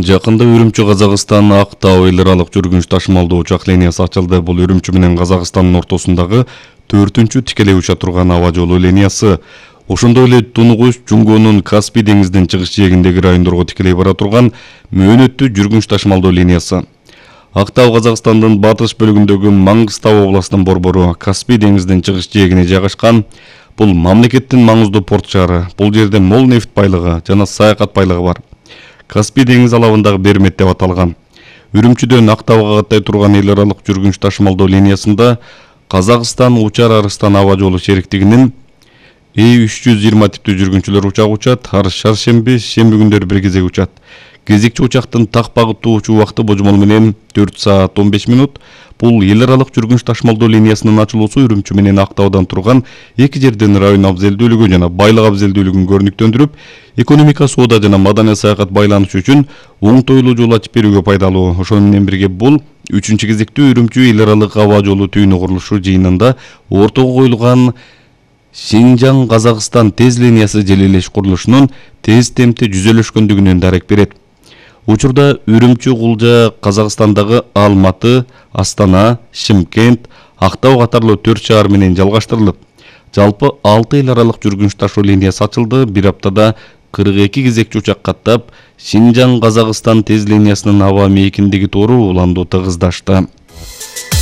Жакында Үрүмчү Казакстан Актау эл аралык жүргүнч ташымалдуу учак линиясы ачылды. Бул Үрүмчү менен Казакстандын ортосундагы 4-тү тикелей уча турган аба жолу линиясы. Ошондой эле Тунугуш Жунгонун Каспий деңизинин чыгыш жээгиндеги райондорго тикелей бара турган мөөнөттүү жүргүнч ташымалдуу линиясы. Актау Казакстандын батыш бөлүгүндөгү Маңгыстау областынын борбору, Каспий деңизинин чыгыш жээгине жайгашкан. Бул мамлекеттин маңыздуу порт шаары. Бул жерде мол нефт байлыгы жана саякат байлыгы бар. Каспий деңиз алабындагы Бермет деп аталган. Үрүмчүдөн Актауга каттай турган эл аралык жүргүнч ташымалдоо линиясында Казакстан Учар Арыстан аба жолу шериктигинин И-320 типтүү жүргүнчүлөр учагы учат. Ар шаршемби, шемби күндөрү бир кезек учат. Кезекчи учактын так багыттуу учуу убакыты божомол менен 4 саат 15 минут. Бул эл аралык жүргүнч ташымалдоо линиясынын ачылуусу Үрүмчү менен Актаудан турган эки жердин район абзелдүүлүгү жана байлык абзелдүүлүгүн көрүнүктөндүрүп, экономика, соода жана маданий саякат байланышы үчүн оңтойлуу жол ачып берүүгө пайдалуу. Ошону менен бирге бул 3-чү кезектүү Үрүмчү эл аралык аба жолу түйүнү курулушу жыйынында ортого коюлган Шинжаң Казакстан тез линиясы желилеш курулушунун тез темпте жүзөлөшкөндүгүнөн дарек берет. Учурда Үрүмчү Кулжа Казакстандагы Алматы, Астана, Шымкент, Актау катарлуу 4 шаар менен жалгаштырылып, жалпы 6 эл аралык жүргүнч ташуу линиясы ачылды. Бир аптада 42 кезекчи учак каттап, Шинжаң Казакстан тез линиясынын аба мейкиндиги тоору уланду тыгыздашты.